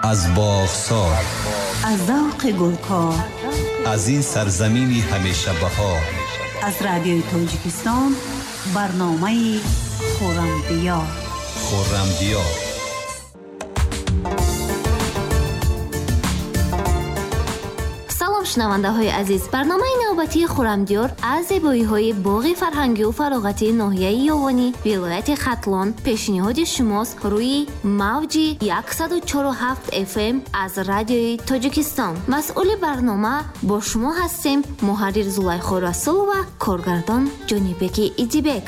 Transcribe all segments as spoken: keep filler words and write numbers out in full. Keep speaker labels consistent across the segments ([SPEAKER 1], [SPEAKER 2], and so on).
[SPEAKER 1] Аз боғсор,
[SPEAKER 2] аз завқи гулкор,
[SPEAKER 1] аз ин сарзамини ҳамеша баҳор,
[SPEAKER 2] аз радиои Тоҷикистон барномаи Хуррамдиёр.
[SPEAKER 1] Хуррамдиёр.
[SPEAKER 3] Шунавандаҳои азиз, барномаи навбатии Хуррамдиёр аз зебоиҳои боғи фарҳангию фароғатии ноҳияи Ёвонӣ вилояти Хатлон пешниҳоди шумост рӯи мавҷи яксаду чору ҳафт эф эм аз радиои Тоҷикистон. Масъули барнома бо шумо ҳастем муҳаррир Зулайхо Расулова, коргардон Ҷонибеки Идибек.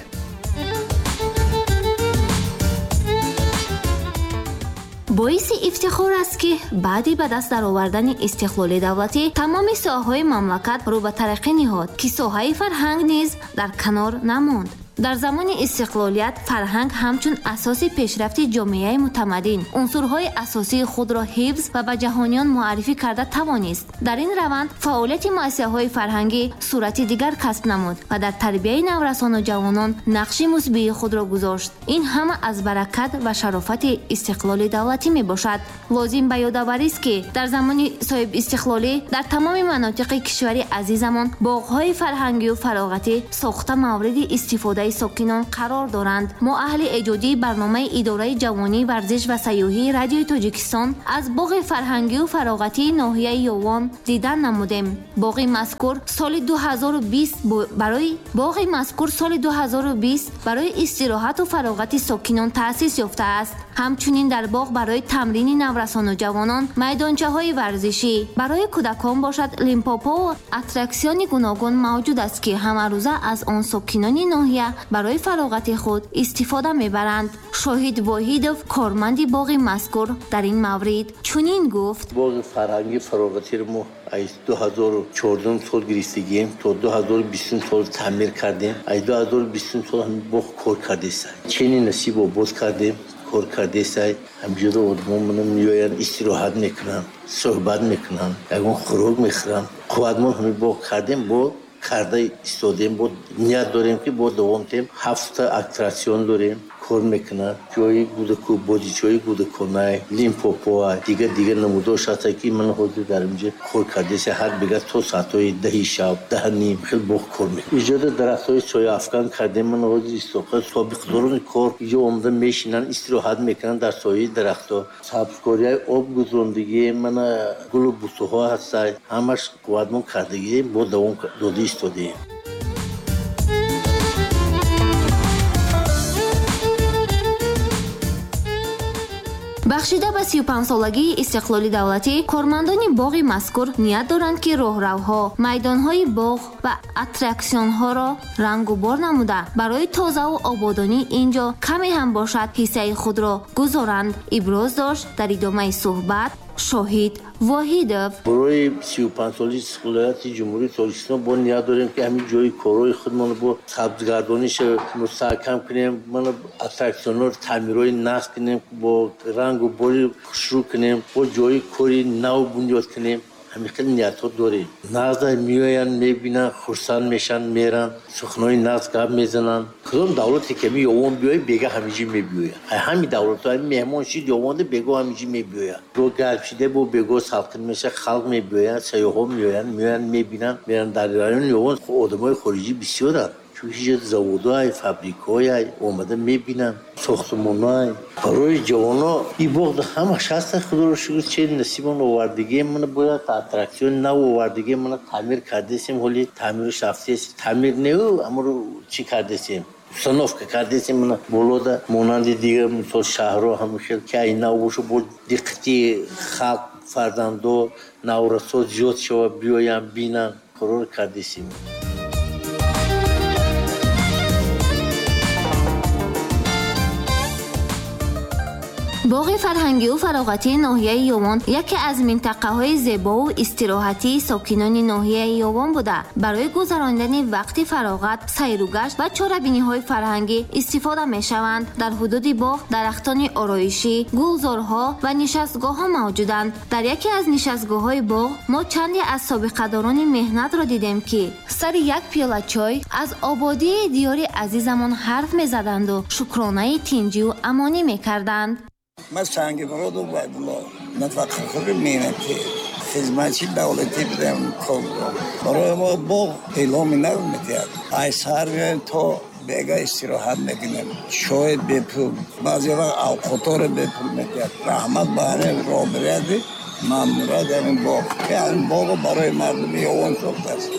[SPEAKER 3] Боиси ифтихор аст, ки баъди ба даст даровардани истиқлоли давлатӣ тамоми соҳаҳои мамлакат рӯ ба тараққӣ ниҳод, ки соҳаи фарҳанг низ дар канор намонд. Дар замони истиқлолият фарҳанг ҳамчун асоси пешрафти ҷомеаи мутамаддин унсурҳои асосии худро ҳифз ва ба ҷаҳониён муаррифӣ карда тавонист. Дар ин раванд фаъолияти муассисаҳои фарҳангӣ сурати дигар касб намуд ва дар тарбияи наврасону ҷавонон нақши мусбии худро гузошт. Ин ҳама аз баракат ва шарофати истиқлоли давлатӣ мебошад. Лозим ба ёдоварист, ки дар замони соҳибистиқлолӣ дар тамоми манотиқи кишвари азизамон боғҳои фарҳангию фароғатӣ сохта мавриди истифодаи сокинон қарор доранд. Мо аҳли эҷодии барномаи идораи ҷавонӣ, варзиш ва сайёҳии радиои Тоҷикистон аз боғи фарҳангию фароғатии ноҳияи Ёвон дидан намудем. Боғи мазкур соли ду ҳазору бист барои боғи мазкур соли ду ҳазору бист барои истироҳату фароғати сокинон таъсис ёфтааст. Ҳамчунин дар боғ барои тамрини наврасону ҷавонон майдончаҳои варзишӣ, барои кӯдакон бошад лимпопову аттраксиони гуногун мавҷуд аст, ки ҳамарӯза аз он сокинони ноҳия барои фароғати худ истифода мебаранд. Шоҳид Воҳидов, корманди боғи мазкур, дар ин маврид чунин гуфт:
[SPEAKER 4] боғи фарҳанги фароғатиро мо аз ду ҳазору чордум сол гирифтагием, то ду ҳазору бистум сол таъмир кардем. Аз ду ҳазору бистум сол ҳамин боғ кор кардеста, чени насиб обод кардем, кор кардеста. Ҳамҷода одамон меоянд, истироҳат мекунанд, суҳбат мекунанд, ягон хӯрок мехӯранд. Қувватмон ҳамин боғ кардем, бо карда истодем, бо ният дорем, ки бо давом тем. Ҳафта аттраксион дорем, кор мекунад, ҷои гудаку бозичаҳои гудаконай, лимпопоа, дигар дигар намудош ҳаста, ки ман ҳозир дар инҷа кор кардеса. Ҳар бега то соатҳои даҳи шаб, даҳ ним хел боғ кор мекунад. Иҷода дарахтҳои сояафкан кардем. Ман ҳозир истоқа собиқдорони кор иҷо омада мешинанд, истироҳат мекунанд дар сояи дарахтҳо. Сабзкориҳои об гузарондагӣ, мана гулу бутуҳо ҳаста, ҳамаш қувватмон кардагием, бо давом дода истодем.
[SPEAKER 3] Бахшида ба сию панҷсолагии истиқлоли давлатӣ кормандони боғи мазкур ният доранд, ки роҳравҳо, майдонҳои боғ ва аттраксионҳоро рангу бор намуда барои тозаву ободонии ин ҷо каме ҳам бошад ҳиссаи худро гузоранд. Иброз дошт дар идомаи суҳбат Шоҳид Воҳидов:
[SPEAKER 4] барои сию панҷсолаи истиқлолияти Ҷумҳурии Тоҷикистон бо ният дорем, ки ҳамин ҷои корҳои худмонро бо сабзгардониша мустаҳкам кунем, мана аттраксионҳоро таъмирҳои нақс кунем, бо рангу бори хушрӯ кунем, бо ҷои кори нав бунёд кунем. Ҳамин хел ниятҳо дорем. Нағза меоянд, мебинанд, хурсанд мешаванд, меранд, суханои нағз гап мезананд. Кадом давлате ки ҳамин Ёвон биёяд, бега ҳаминҷи мебиёяд. Ҳамин давлатҳо ҳамин меҳмон шид Ёвонда, бего ҳаминҷи мебиёяд. Бо гарм шида, бо бего салқин мешавад, халқ мебиёянд, сайёҳҳо меоянд, меоянд, мебинанд, меранд. Дар райони Ёвон одамои хориҷӣ бисёранд, чунки ҷо заводҳоай, фабрикҳоай омада мебинанд, сохтмонҳоай. Барои ҷавоно ин боғ ҳамаш ҳаста, худоро шукр, че насибон овардагием. Мана бояд аттраксион нав овардагием, мана таъмир кардесем, ҳоли таъмирш рафтест. Таъмир неу, амро чӣ кардесем, установка кардесем. Мана болода монанди дигар мисол шаҳрҳо ҳамин хел ки ай нав боша, бо диққати халқ, фарзандо, наврасо зиёд шава, биёянд, бинанд, қарор кардесем.
[SPEAKER 3] Боғи фарҳангию фароғатии ноҳияи Ёвон яке аз минтақаҳои зебову истироҳатии сокинони ноҳияи Ёвон буда, барои гузаронидани вақти фароғат, сайругашт ва чорабиниҳои фарҳангӣ истифода мешаванд. Дар ҳудуди боғ дарахтони ороишӣ, гулзорҳо ва нишастгоҳҳо мавҷуданд. Дар яке аз нишастгоҳҳои боғ мо чанде аз собиқадорони меҳнатро дидем, ки сари як пиёла чой аз ободии диёри азизамон ҳарф мезаданду шукронаи тинҷиву амонӣ мекарданд.
[SPEAKER 5] Ман Сангимурод Убайдулло, нафақахӯри меҳнатӣ, хизматчи давлатӣ будам. Барои мо боғ эъломи нав медиҳад. Ай саҳар меоем то бега истироҳат мекунем. Чой бепул, баъзе вақт авқоторо бепул медиҳад. Раҳмат ба ҳамин роҳбарияти мамнурат ҳамин боғ. Ҳамин боғо барои мардуми Ёвон сохтааст.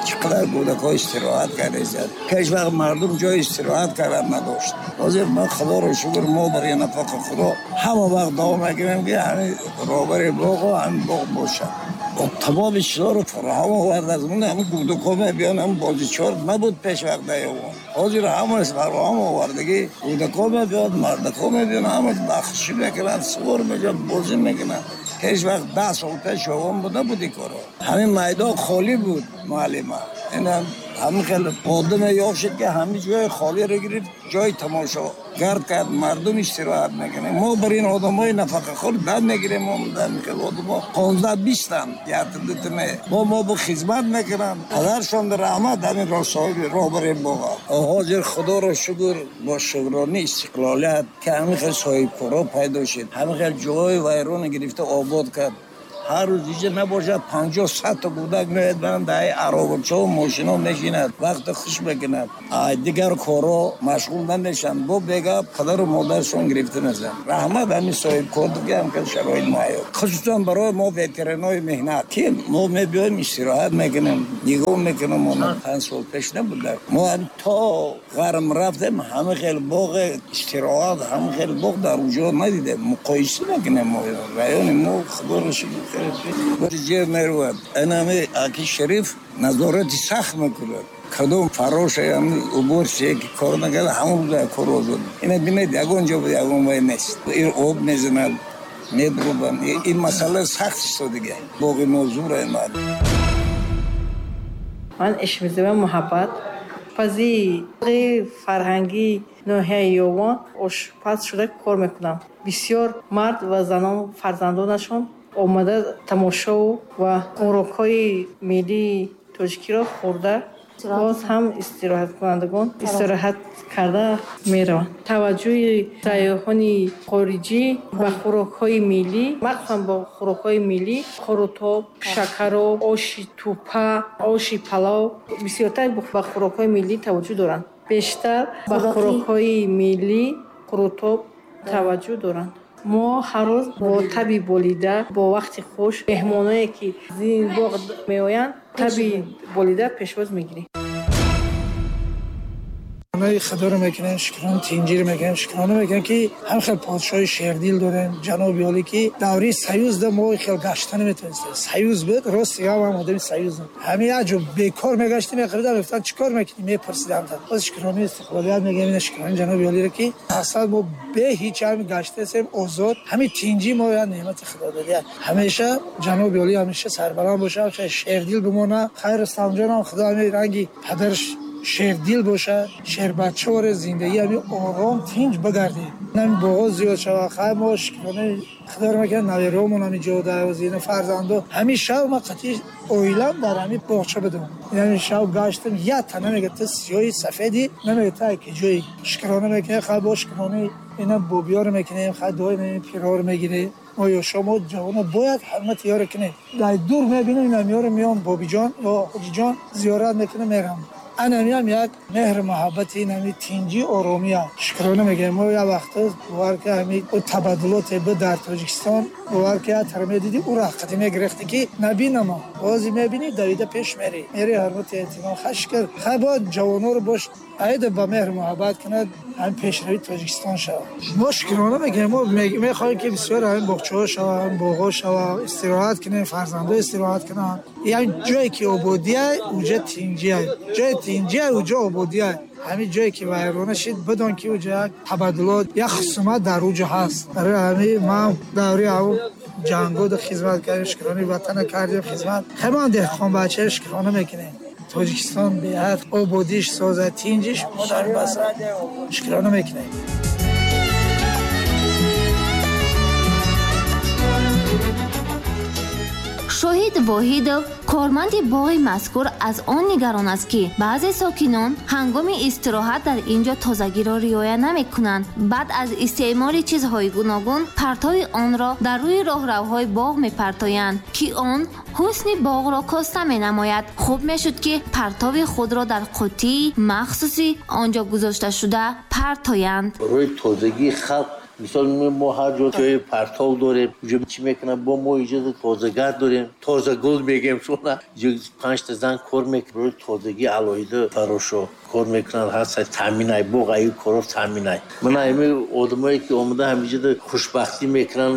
[SPEAKER 5] Чӣ қадар кӯдакҳо истироҳат кардааст. Пеш вақт мардум ҷои истироҳат кардан надошт. Ҳозир мо худоро шукр, мо барои нафақахӯро ҳама вақт дуо мекунем, ки ҳамин роҳбари боғо ҳамин боғ бошад. Тамоми чизҳоро фароҳам овардааст. Ҳамин кӯдакҳо мебиён, ҳамин бозичор набуд пеш вақт дар Ёвон. Ҳозир ҳамааш фароҳам овардагӣ. Кӯдакҳо мебиён, мардакҳо мебиён, ҳамаш бахшӣ мекунанд, сувор мешаванд, бозӣ мекунанд. Пеш вақт даҳ сол пеш Ёвон буда буд ин коро. Ҳамин майдон холӣ буд, муаллима. Инам ҳамин хеле одаме ёфт шуд, ки ҳамин ҷои холиро гирифт, ҷои тамошо гард кард, мардум истироҳат мекунанд. Мо бар ин одамои нафақахӯр дам мегирем, мо ҳамин хеле одамо понздаҳ бистанд, як дута не. Мо мо бо хизмат мекунанд. Падаршон раҳмат ҳамин роҳ соҳиби роҳбари боғ. Ҳозир худоро шукр, бо шукрони истиқлолият, ки ҳамин хел соҳибкоро пайдо шуд, ҳамин хел ҷои вайрона гирифта обод кард. Ҳар рӯз иҷа набошад панҷоҳ сад та кӯдак меояд, баранд дар аробачаҳо мошино мешинад, вақти хуш мекунад. Дигар корҳо машғул намешаванд. Бо бега падару модаршон гирифта мешаванд. Раҳмат ҳамин соҳибкор, ки ҳам шароит муҳайё, хусусан барои мо ветеранои меҳнат, ки мо мебиёем истироҳат мекунем, нигоҳ мекунем. Мо панҷ сол пеш набуд. Мо то ғарм рафтем, ҳама хел боғ истироҳат, ҳама хел боғ дар уҷо надидем. Муқоиса мекунем. Мо райони мо худоро шукр ҷер меравад. Инами аки Шариф назорати сахт мекунад. Кадом фароша уборчие ки кор накарда, ҳамон рӯза кор озод. Ина бинед, ягон ҷо ягон вай нест. Ин об мезанад, медрубанд. Ин масъала сахт истодига. Боғи мо зура мад.
[SPEAKER 6] Ман Ишмизова Муҳаббат, пази фарҳангии ноҳияи Ёвон ошпаз шуда кор мекунам. Бисёр мард ва занон фарзандонашон омада тамошо ва хӯрокҳои миллии тоҷикиро хӯрда, боз ҳам истироҳаткунандагон истироҳат карда мераванд. Таваҷҷӯҳи сайёҳони хориҷӣ ба хӯрокҳои миллӣ, махсусан бо хӯрокҳои миллӣ, қурутоб, шакароб, оши тӯпа, оши палов, бисёртар ба хӯрокҳои миллӣ таваҷҷӯҳ доранд. Бештар ба хӯрокҳои миллӣ қурутоб таваҷҷӯҳ доранд. Мо ҳар рӯз бо таби болида, бо вақти хуш меҳмоное ки зин боғ меоянд, таби болида пешвоз мегирем.
[SPEAKER 7] Худоро мекунем, шукрон тинҷир мекунем, шукрона мекунем, ки ҳам хел подшоҳи шердил дорем, ҷаноби олӣ, ки давраи союз да мо хел гашта наметавонистем. Союз буд, рост гап ҳам одами союз. Ҳамин як ҷо бекор мегаштем, меқаридам, мегуфтанд чӣ кор мекунӣ, мепурсиданд. Боз шукрони истиқлолият мегӯем, ина шукрони ҷаноби олиро, ки аслан мо бе ҳеҷ ҳамин гаштаем озод, ҳамин тинҷи мо як неъмати худо додия. Ҳамеша ҷаноби олӣ ҳамеша сарбаланд бошад, шердил бимонад. Хайр Рустамҷонам, худо ҳамин ранги падараш шердил боша, шербачаоре зиндагӣ ҳамин ором тинҷ бигардем. Ҳамин боғо зиёд шавад. Хайр мо шукронаи худоро мекунем, наверомон ҳамин ҷо дар фарзандо. Ҳамин шаб ман қатъи оилам дар ҳамин боғча будам. Ҳамин шаб гаштам, як та намегӯяд ту сиёҳи сафедӣ, намегӯяд ту ки ҷои. Шукрона мекунем, хайр бо шукронаи ина бобиёро мекунем, хайр дуои ин пирҳоро мегирем. Мо ёшо, мо ҷавоно бояд ҳурмати ёро кунем. Дар дур мебинем, ина меёрем, меём бобиҷон ё ҳоҷиҷон зиёрат мекунем, мерам. Анами ҳам як меҳру муҳаббати инами тинҷи оромия. Шукрона мегӯем. Мо як вақт бовар ки ҳамин табаддулоте буд дар Тоҷикистон, бовар ки як тараф медидӣ, ӯ раққати мегирифтӣ ки набинамо. Бози мебинӣ, давида пеш мерӣ. Мерӣ ҳурмати эҳтиром. Хай шукр. Хай бояд ҷавоноро бош айда ба меҳру муҳаббат кунад, ҳамин пешравии Тоҷикистон шавад. Мо шукрона мегӯем. Мо мехоҳем ки бисёр ҳамин боғчаҳо шавад, ҳамин боғҳо шавад, истироҳат кунем, фарзандо истироҳат кунанд. Яъне ҷое ки ободия, уҷа тинҷия. Ҷое тинҷия, уҷа ободия. Ҳамин ҷое ки вайрона шид, бидон ки уҷа як табаддулот, як хусумат дар уҷа ҳаст. Барои ҳамин ман давраи ҳамон ҷангода хизмат кардем, шукрони ватана кардем хизмат. Хеле ман деҳқонбача шукрона мекунем. Тоҷикистон беҳад ободиш созад, тинҷиш, мо дар бас шукрона мекунем.
[SPEAKER 3] Шоҳид Воҳид Воҳидов, корманди боғи мазкур, аз он нигарон аст, ки баъзе сокинон ҳангоми истироҳат дар ин ҷо тозагиро риоя намекунанд. Баъд аз истеъмоли чизҳои гуногун партови онро дар рӯи роҳравҳои боғ мепартоянд, ки он ҳусни боғро коста менамояд. Хуб мешуд, ки партови худро дар қуттии махсуси он ҷо гузошташуда партоянд.
[SPEAKER 4] Барои тозагии халқ мисол мо ҳар ҷо ҷои партов дорем, ҷо чӣ мекунам, бо мо иҷоза тозагар дорем, тозагул мегем, шуна панҷта зан кор мекунад, барои тозагӣ алоҳида фарошо кор мекунанд, ҳаст таъминай боғ аю коро таъминай. Мана ҳами одамое ки омада ҳамиҷода хушбахтӣ мекунанд,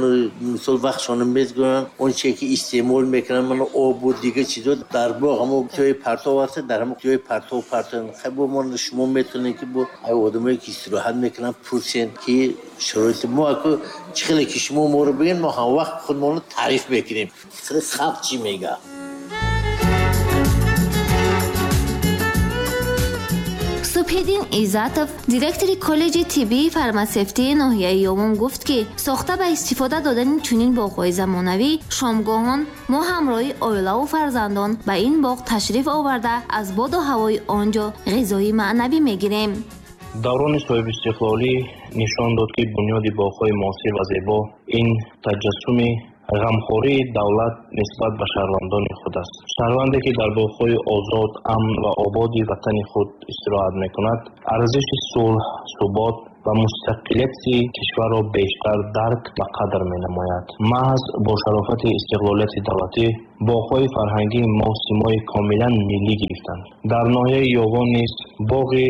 [SPEAKER 4] мисол вақтшона мезгӯянд, он чие ки истеъмол мекунанд, мана обу дигар чизо дар боғ ҳамо ҷои партов ҳаст, дар ҳамо ҷои партов партоянд. Хай бо мо шумо метавонед ки бо ай одамое ки истироҳат мекунанд пурсен ки шароити мо аку чӣ хеле ки шумо моро бигӯед, мо ҳамвақт худмонро таъриф мекунем. Хеле халқ чӣ мегӯяд.
[SPEAKER 3] Субҳиддин Иззатов, директори коллеҷи тиббии фармасевтии ноҳияи Ёвон, гуфт, ки сохта ба истифода додани чунин боғҳои замонавӣ шомгоҳон мо ҳамроҳи оилаву фарзандон ба ин боғ ташриф оварда аз боду ҳавои он ҷо ғизои маънавӣ мегирем.
[SPEAKER 8] Даврони соҳибистиқлолӣ нишон дод, ки бунёди боғҳои муосир ва зебо ин таҷассуми ғамхории давлат нисбат ба шаҳрвандони худ аст. Шаҳрванде, ки дар боғҳои озод, амн ва ободи ватани худ истироҳат мекунад, арзиши сулҳ, субот ва мустақилияти кишварро бештар дарк ва қадр менамояд. Маҳз бо шарофати истиқлолияти давлатӣ боғҳои фарҳангии мо симои комилан миллӣ гирифтанд. Дар ноҳияи Ёвон низ боғи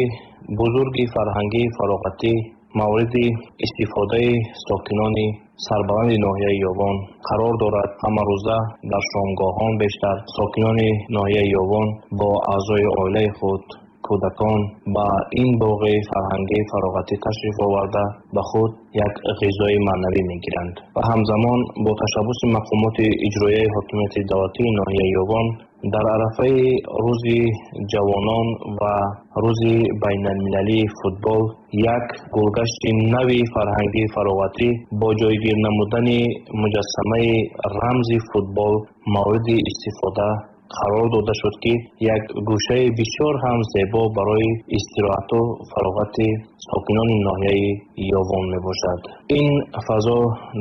[SPEAKER 8] бузурги фарҳангии фароғатӣ мавриди истифодаи сокинони сарбаланди ноҳияи Ёвон қарор дорад. Ҳамарӯза дар шомгоҳон бештар сокинони ноҳияи Ёвон бо аъзои оилаи худ, кӯдакон ба ин боғи фарҳангии фароғатӣ ташриф оварда ба худ як ғизои маънавӣ мегиранд ва ҳамзамон бо ташаббуси мақомоти иҷроияи ҳокимияти давлатии ноҳияи Ёвон дар арафаи рӯзи ҷавонон ва рӯзи байналмилалии футбол як гулгашти нави фарҳангии фароғатӣ бо ҷойгир намудани муҷассамаи рамзи футбол мавриди истифода қарор дода шуд, ки як гӯшаи бисёр ҳам зебо барои истироҳату фароғати сокинони ноҳияи Ёвон мебошад. Ин фазо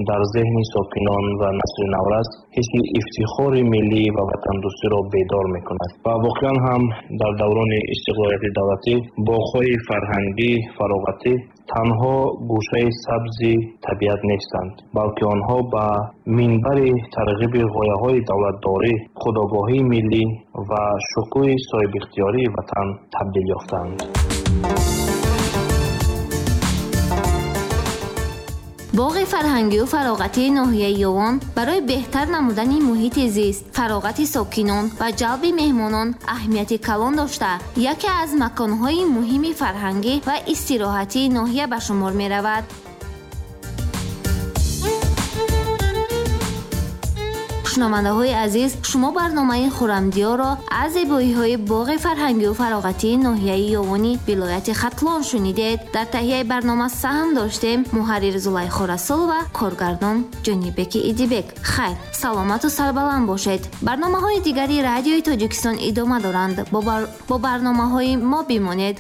[SPEAKER 8] дар зеҳни сокинон ва насли наврас ҳисси ифтихори миллӣ ва ватандӯстиро бедор мекунад ва воқеан ҳам дар даврони истиқлолияти давлатӣ боғҳои фарҳангӣ фароғатӣ танҳо гӯшаи сабзи табиат нестанд, балки онҳо ба минбари тарғиби ғояҳои давлатдорӣ, худогоҳии миллӣ ва шукӯҳи соҳибихтиёрии ватан табдил ёфтаанд.
[SPEAKER 3] Боғи фарҳангию фароғатии ноҳияи Ёвон барои беҳтар намудани муҳити зист, фароғати сокинон ва ҷалби меҳмонон аҳамияти калон дошта, яке аз маконҳои муҳими фарҳангӣ ва истироҳатии ноҳия ба шумор меравад. Шунавандаҳои азиз, шумо барномаи Хуррамдиёрро аз зебоиҳои боғи фарҳангию фароғатии ноҳияи Ёвони вилояти Хатлон шунидед. Дар таҳияи барнома саҳм доштем муҳаррир Зулайхо Расулова, коргардон Ҷонибеки Идибек. Хайр, саломату сарбаланд бошед. Барномаҳои дигари радиои Тоҷикистон идома доранд. Бо барномаҳои мо бимонед.